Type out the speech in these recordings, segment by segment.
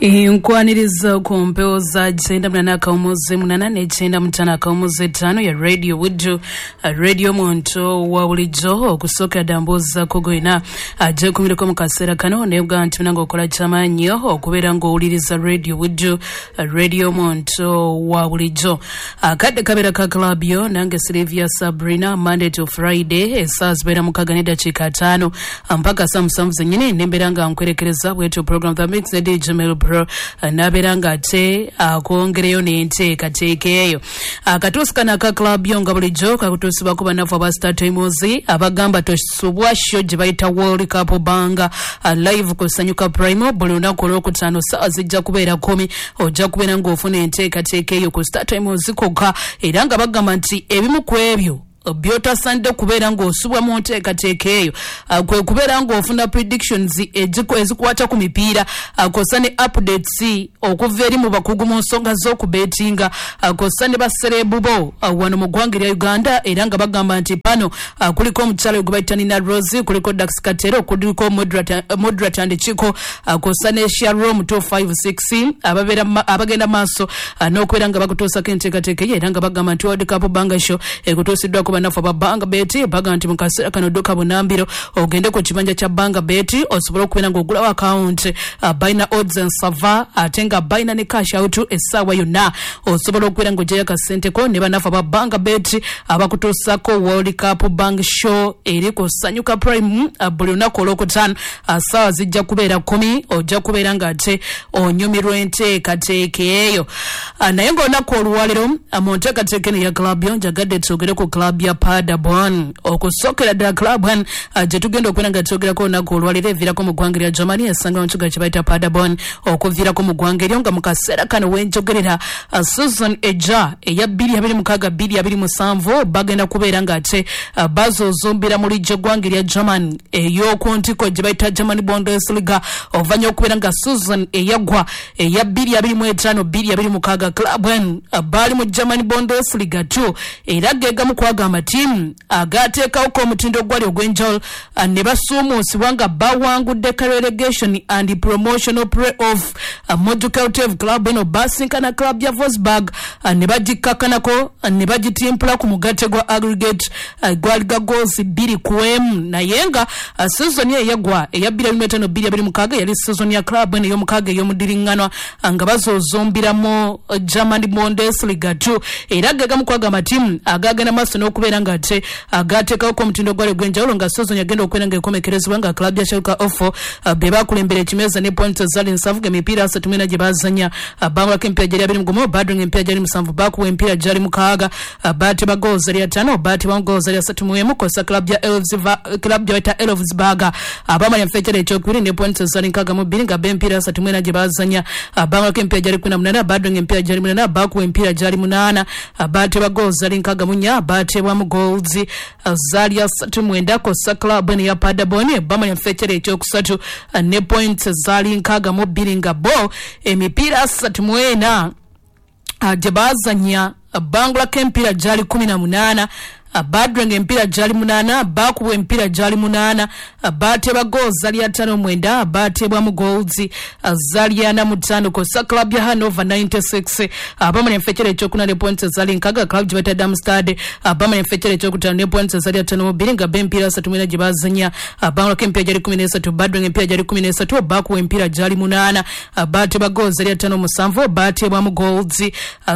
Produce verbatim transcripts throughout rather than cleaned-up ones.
Nkwaniriza ku mpewo za kyenda munana akawumuzi munana ne kyenda mutano akawumuzi ttaano ya Radio Buddu, radio muntu wa bulijjo. Okusookera ddala mbuuzaako gwena ajja kumireko mu kaseera kano, naye bwa nti munange okola kyamaanyi okubeera ng'owuliriza Radio Buddu, radio muntu wa bulijjo. Akadde kabeera ka club yo nange Sylvia Sabrina, Monday to Friday essaawa zibeera mukaaga n'eddakiika ttaano mpaka saa musanvu zennyini, nembeera nga nkwerekereza bwetyo program The Mix ne D J Mel Pro, nabeera nga ate akwongereyo n'enteekateeka eyo. Akatuusi kano aka club yo nga bulijjo kakutuusibwako bannafu aba Star Times abagamba tosubwa show gye bayita World Cup Banga live ku Sanyuka Prime buli lunaku olwokutaano ssaawa zijja kubeera kumi. Ojja kubeera ng'ofuna enteekateeka eyo ku Star Times kokka, era nga bagamba nti ebimu ku ebyo byotasanidde kubeera ng'osubwa mu nteekateeka eyo kwe kubeera ng'ofuna predictions ezikwata ku mipiira, kw'ossa ne updates okuva eri mu bakugu mu nsonga z'okubeetinga, kw'ossa ne basereebu bo wano mu ggwanga erya Uganda. Era nga bagamba nti pano kuliko omukyala gwe bayita Nina Rose, kuliko Dax Katero, kuliko Moderate and Chiko, kw'ossa ne Sharom two five six abagenda maaso n'okubeera nga bakutuusako enteekateeka eyo. Era nga bagamba nti World Cup Banga Show ekutuusiddwako bannaffe aba Banga Bet. Baga nti mu kaseera kano dduka bunambiro ogende ku kibanja kya Banga Bet osobole okubeera ng'ogulawo akawunti. Balina odds ensava ate nga balina ne cash out essaawa yonna, osobola okubeera ng'ogyayo akasenteko ne bannaffe aba Banga Bet abakutuusako World Cup Bang Show eri ku Sanyuka Prime buli lunaku olwokutaano ssaawa zijja kubeera kumi. Ojja kubeera ng'ate onyumirwa enteekateeka eyo. Naye ng'olunaku olwaleero mu nteekateeka eno ya club yo njagadde twogere ku club ya Paderborn. Okusookera ddala club one gye tugenda okubeera nga twogerako olunaku olwaleero eviirako mu ggwanga erya Germany, esangibwa mu kibuga kye bayita Paderborn. Okuviirako mu ggwanga eryo, nga mu kaseera kano wenjogerera, season ejja eya bbiri abiri mukaaga bbiri abiri musanvu bagenda kubeera ng'ate bazoozombera mu lijja eggwanga erya Germany ey'oku ntiko gye bayita German Bundesliga, oluvannyuma okubeera nga season eyaggwa eya bbiri abiri mu etaano bbiri abiri mukaaga club one baali mu German Bundesliga two, era gegamu kwaga amatiimu agateekawo omutindo ogwali ogw'enjawulo ne basuumuusibwa nga bawangudde relegation and promotional play-off. Modukeltev club eno basinkana club ya Wolfsburg ne bagikkakanako ne bagitimpula ku mugatte gwa aggregate gwali ga goals bbiri ku emu. Naye nga season eyo eyaggwa eya bbiri abiri mu etaano bbiri abiri mukaaga yali season ya club eno ey'omukaaga ey'omudiriŋŋanwa nga bazoozombiramu German Bundesliga two, era gegamu kwaga amatiimu agagenda maaso n'okubeera nga ate agateekawo omutindo gwali ogw'enjawulo, nga season yagenda okubeera nga ekomekerezebwa nga club ya Schalke zero four be bakulembera ekimeeza ne points zali nsanvu, emipiira asatu mu ena gye bazanya bangulako emipiira gyali abiri mu gumu, badringa emipiira gyali musanvu, bakuwa emipiira gyali mukaaga, baateba goals zali ataano, baatebwamu goals zali asatu mu emu, kw'ossa club ya club gye bayita Elfsberg abamala enfekyere ekyokubiri ne points zali nkaaga mu bbiri, nga be emipiira asatu mu ena gye bazanya bangulako emipiira gyali kumi na munaana, badringa emipiira gyali munaana, bakuwa emipiira gyali munaana, baateba goals zali nkaaga mu nnya, baatebwamu goals zaali asatu mwenda, kw'ossa club eno ya Paderborn bamala enfekyere ekyokusatu ne points zaali nkaaga mu bbiri, nga bo emipiira asatu mu ena gye baazanya bangulako emipiira gyali kumi na munaana, badrenga emipiira gyali munaana, baakubwa emipiira gyali munaana, baateba goals zali ataano mwenda, baatebwamu goals zali ana mu ttaano, kw'ossa club ya Hannover ninety-six abamala enfekyere ekyokuna ne points zali nkaaga. Club gye bayita Darmstadt abamala enfekyere ekyokutaano ne points zali ataano mu bbiri, nga be emipiira asatu mu ena gye baazanya bangulako emipiira gyali kumi n'esatu, badrenga emipiira gyali kumi n'esatu, baakuwa emipiira gyali munaana, baateba goals zali ataano musanvu, baatebwamu goals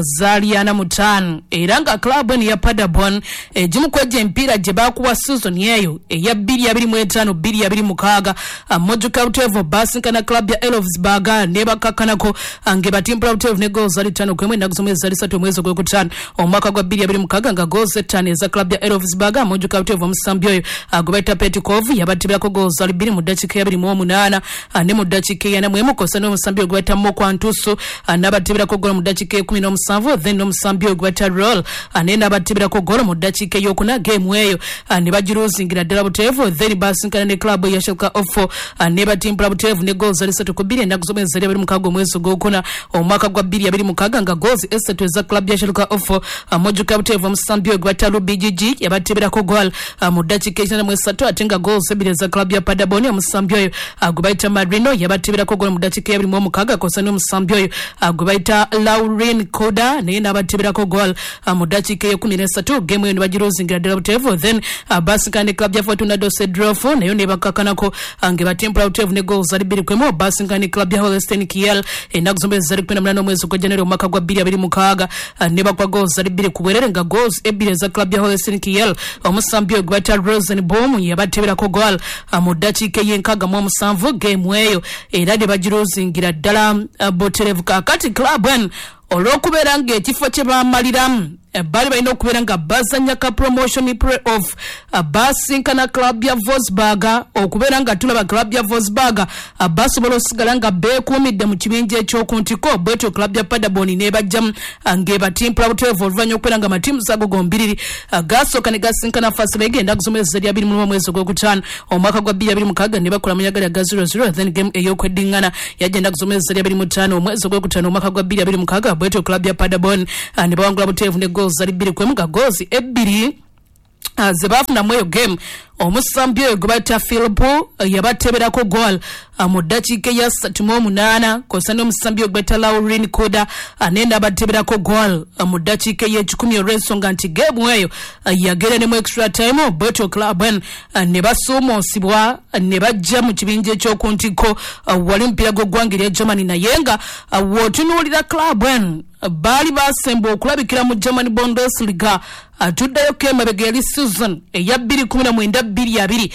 zaali ana mu ttaano. Era nga club eno ya Paderborn egimu ku egyo emipiira gye baakuwa season eyo eya bbiri abiri mu etaano bbiri abiri mukaaga, Mojuka Butevo basinkana club ya Elfsberg ne bakakkanako ng'ebatimpula Butevo ne goals zali ttaano ku emu ennaku z'omwezi zali ssatu omwezi ogwokutaano omwaka gwa bbiri abiri mukaaga, nga goals ettaano eza club ya Elfsberg, Mojuka Butevo omusambi oyo gwe bayita Petkov yabatibirako goals zali bbiri mu ddakiika eyabiri mu omunaana ne mu ddakiika eyana mu emu, kw'ossa n'omusambi oyo gwe bayita Mokwantusu n'abatibirako goolo mu ddakiika ekumi n'omusanvu, then n'omusambi oyo gwe bayita Roll naye n'abatibirako goolo mu ddakiika ddakiika eyokuna game eyo ne bagiruzingira ddala buteevu. Then basinkana ne club ya Schalke oh four ne batimpula buteevu ne goals esatu ku bbiri ennaku z'omwezi abiri mukaaga omwezi ogwokuna omwaka gwa bbiri abiri mukaaga nga goals esatu eza club ya Schalke oh four mojjuka buteevu omusambi oyo gwe bayita Ruby G G yabateeberako goal mu ddakiika ekinaana mu esatu, ate nga goals ebbiri eza club ya Paderborn omusambi oyo gwe bayita Marino yabateeberako goal mu ddakiika eyabiri mu omukaaga, kw'ossa n'omusambi oyo gwe bayita Laurin Koda naye n'abateeberako goal mu ddakiika ey'ekumi n'esatu. Game eyo ne bagiruzingira ddala buteevu. Then basinkana ne club ya Fortuna Dusseldorf nayo ne bakkakanako nga batimpula buteevu ne goals zali bbiri ku emu. Basinkana ne club ya Holstein Kiel ennaku z'omwezi zali kumi na munaana omwezi ogwa January omwaka gwa bbiri abiri mukaaga ne bakwa goals zali bbiri ku bwerere nga goals ebbiri eza club ya Holstein Kiel omusambi oyo gwe bayita Rosenbaum yabateeberako goal mu ddakiika ey'enkaaga mu omusanvu. Game eyo era ne bagiruzingira ddala butereevu. Kaakati club eno olw'okubeera ng'ekifo kye baamaliramu baali balina okubeera nga bazannya ka promotion play off, basinkana club ya Wolfsburg. Okubeera nga tulaba club ya Wolfsburg basobola osigala nga beekuumidde mu kibinja ekyokuntiko, bwetyo club ya Paderborn n'ebajjamu ng'ebatimpula butereevu oluvannyuma okubeera nga amatiimu ago gombiriri gasooka ne gasinkana first leg ennaku z'omwezi zali abiri mu lumu omwezi ogwokutaano omwaka gwa bbiri abiri mukaaga ne bakola munyagali aga zero zero. Then game ey'okweddiŋŋana yajja ennaku z'omwezi zali abiri mu ttaano omwezi ogwokutaano omwaka gwa bbiri abiri mukaaga, bwetyo club ya Paderborn ne bawangula butereevu ne goals zali bbiri ku emu nga goals ebbiri ze baafunamu eyo game omusambi oyo gwe bayita Philip yabateeberako goal mu ddakiika eya ssatu mu omunaana, kw'ossa n'omusambi oyo gwe bayita Laurin Koda naye n'abateeberako goal mu ddakiika ey'ekikumi, olw'ensonga nti game eyo yagenda ne mu extra time. Bwetyo club eno ne basuumuusibwa ne bajja mu kibinja ekyoku ntikko wali omupiira gw'eggwanga erya Germany. Naye nga w'otunuulira club eno baali basemba okulabikira mu German Bundesliga, tuddayoko emabega yali season eya bbiri kumi na mwenda bbiri abiri.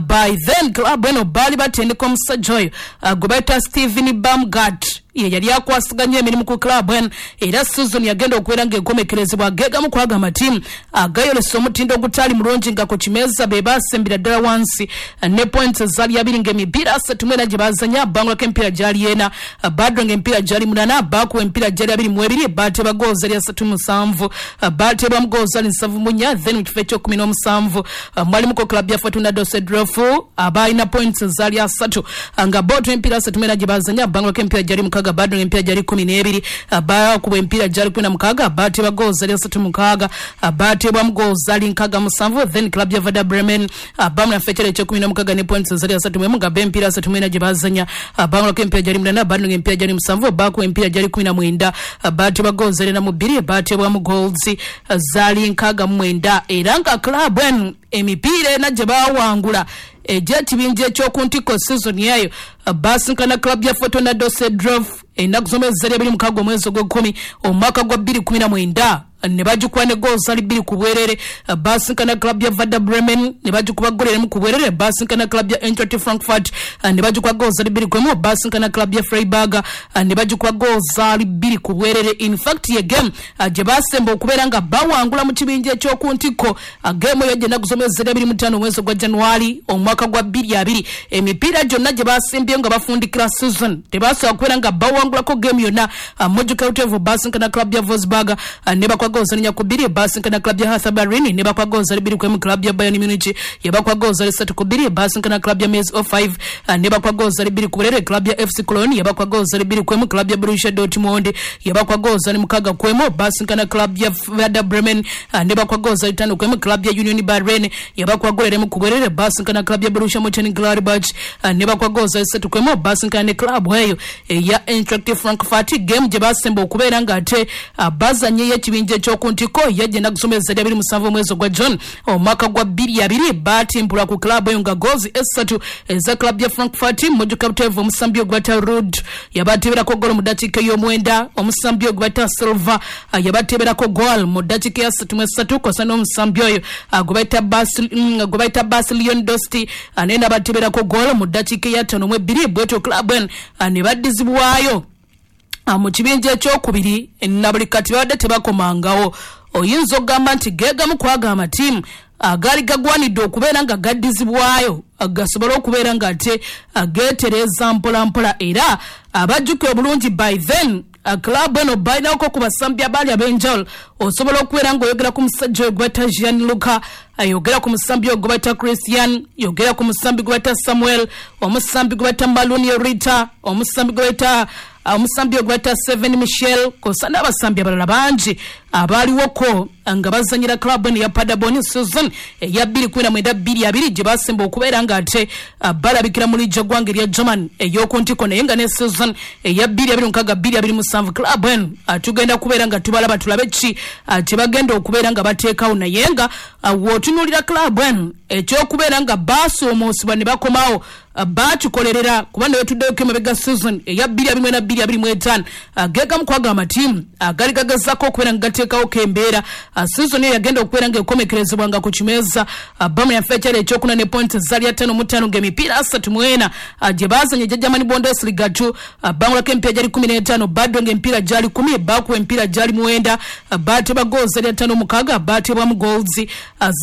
By then club eno baali batendeka omusajja oyo gwe bayita Steven Baumgart, ye yali akwasaganya emirimu ku club eno. Era season yagenda okubeera ng'enkomekerezebwa gegamu kwaga amatiimu agayolesa omutindo ogutali mulungi nga ku kimeeza be basembera ddala wansi ne points zaali abiri ng'emipiira asatu mu ena gye bazanya bangulako emipiira gyali ena, badro ng'emipiira gyali munana, bakuwa emipiira gyali abiri mu ebiri, bateeba goals zali asatu musanvu, bateebwamu goals zali nsanvu mu nnya. Then mu kifo ekyokumi n'omusanvu mwalimuko club ya Fortuna Dusseldorf abalina points zaali asatu nga boto emipiira asatu mu ena gye bazanya bangulako emipiira gyali mukaaga, badro ng'emipiira gyali kumi n'ebiri, bakuba emipiira gyali kumi na mukaaga, bateeba goals zali asatu mukaaga, bateebwamu goals zali nkaaga musanvu. Then club ya Werder Bremen bamu naffe ekyalo ekyokumi n'omukaaga ne points zali asatu mu emu nga bo emipiira asatu mu ena gye bazanya bangulako emipiira gyali munana, badro ng'emipiira gyali musanvu, bakuba emipiira gyali kumi na mwenda, bateebwa goals zali na mu bbiri, bateebwamu goals zaali nkaaga mu mwenda. Era nga club eno emipiira ena gye baawangula egy'ekibinja ekyoku ntikko season eyo, basinkana club ya Fortuna Dusseldorf ennaku z'omwezi zali abiri mukaaga omwezi ogw'ekkumi omwaka gwa bbiri kumi na mwenda ne bagikuba ne goals zali bbiri ku bwerere. Basinkana club ya Werder Bremen ne bagikuba goal emu ku bwerere. Basinkana club ya Eintracht Frankfurt ne bagikuba goals zali bbiri ku emu. Basinkana club ya Freiburg ne bagikuba goals zali bbiri ku bwerere. In fact, ye game gye basemba okubeera nga bawangula mu kibinja ekyoku ntikko, game eyo ennaku z'omwezi zali abiri mu ttaano omwezi ogwa January omwaka gwa bbiri abiri. Emipiira gyonna gye basembye nga bafundikira season tebasobola kubeera nga bawangulako game yonna. Mojjuka buteevu basinkana club ya Wolfsburg ne bakwa goals nnya ku bbiri. Basinkana club ya Hertha Berlin ne bakwa goals bbiri ku emu. Club ya Bayern Munich yabakwa goals ssatu ku bbiri. Basinkana club ya Mainz oh five ne bakwa goals bbiri ku bwerere. Club ya F C Cologne yabakwa goals bbiri ku emu. Club ya Borussia Dortmund yabakwa goals mukaaga ku emu. Basinkana club ya Werder Bremen ne bakwa goals ttaano ku emu. Club ya Union Berlin yabakwa goal emu ku bwerere. Basinkana club ya Borussia Mönchengladbach ne bakwa goals ssatu ku emu. Basinkana ne club eyo eya Eintracht Frankfurt, game gye basemba okubeera ng'ate bazannyeyo ekibinja ekyoku ntikko yajja ennaku z'omwezi abiri musanvu omwezi ogwa June omwaka gwa bbiri abiri. Batimpula ku club eyo nga goals esatu eza club ya Frankfurt, mojjuka buteevu omusambi ogwata Rud yabateeberako goal mu ddakiika ey'omwenda, omusambi ogwata Silva yabateeberako goal mu ddakiika ya ssatu mu esatu, kw'ossa n'omusambi oyo gwe bayita Bas Lewandowski naye n'abateeberako goal mu ddakiika eya ttaano mu ebbiri. Bwetyo club eno ne baddizibwayo mu kibinja ekyokubiri na buli kati babadde tebakomangawo. Oyinza okugamba nti geegamu kwaga amatiimu agaali gagwanidde okubeera nga gaddizibwayo gasobole okubeera nga ate geetereeza mpola mpola. Era abajjukira obulungi, by then Club eno balinako ku basambi abaali ab'enjawulo. Osobola okubeera ng'oyogera ku musajja oyo gwe bayita Gianluca, yogera ku musambi oyo gwe bayita Christian, yogera ku musambi gwe bayita Samuel, omusambi gwe bayita Maluni Rita, omusambi gwe bayita omusambi ogwe bayita Seven Michel, kosa n'abasambi abalala bangi abaaliwoko nga bazanyira club eno ya Paderborn season eya bbiri kumi na mwenda bbiri abiri gye basemba okubeera ng'ate balabikira mu liigi eggwanga erya German ey'oku ntiko. Naye nga ne season eya bbiri abiri mukaaga bbiri abiri musanvu club eno tugenda kubeera nga tubalaba tulabe ki kye bagenda okubeera nga bateekawo. Naye nga w'otunuulira club eno ekyokubeera nga baasoomoosebwa ne bakomawo bakikolerera, kuba ne wetuddeyoko emabega season eya bbiri abiri mwena bbiri abiri mu etaano gegamu kwago amatiimu agali gagezako okubeera nga gateekawo embeera. Season eyo yagenda okubeera nga ekomekerezebwa nga ku kimeeza bamu yaffe ekyalo ekyokuna ne pointi zaali ataano mu ttaano ng'emipiira asatu mu ena gye baazanya egya German Bundesliga two bangulako emipiira gyali kumi n'etaano, baddo ng'emipiira gyali kumi, baakuba emipiira gyali mwenda, baatebwa goals zaali ataano mukaaga, baatebwamu goals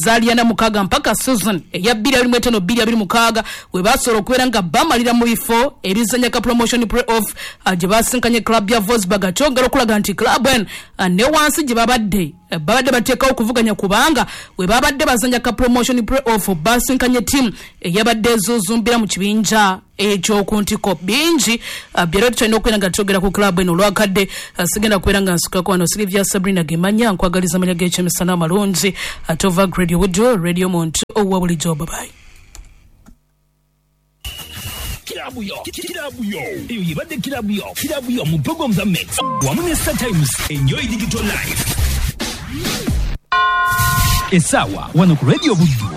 zaali ana mukaaga mpaka season eya bbiri abiri mu etaano bbiri abiri mukaaga we basobola okubeera nga bamalira mu bifo ebizanya ka promotion play-off gye basinkanye club ya Wolfsburg. Kyongera okulaga nti club eno ne wansi gye babadde babadde bateekawo okuvuganya, kubanga we babadde bazanya ka promotion play-off basinkanye ttiimu eyabadde ezuuzumbira mu kibinja ekyoku ntiko. Bingi byera tukyalina okubeera nga twogera ku club eno olwakadde. Sigenda kubeera nga nsukako wano. Silivia Sabrina Gemanya nkwagaliza amanya g'ekyemisana amalungi ate ova Radio Buddu, Radio Muntu owa bulijjo. Babayi. Kirabu yo, kirabu yo, eyo yebadde kirabu yo, kirabu yo mu program za Mix wamu ne Star Times. Enjoy digital life. Essaawa wano ku Radio Buddu.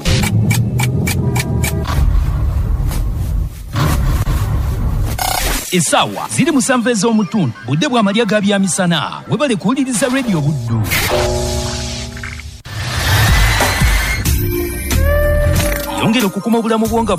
Essaawa ziri musanvu ez'omutundu, budde bw'amalya ga byamisana. Webale kuwuliriza Radio Buddu. Yongera okukuma obulamu bwo nga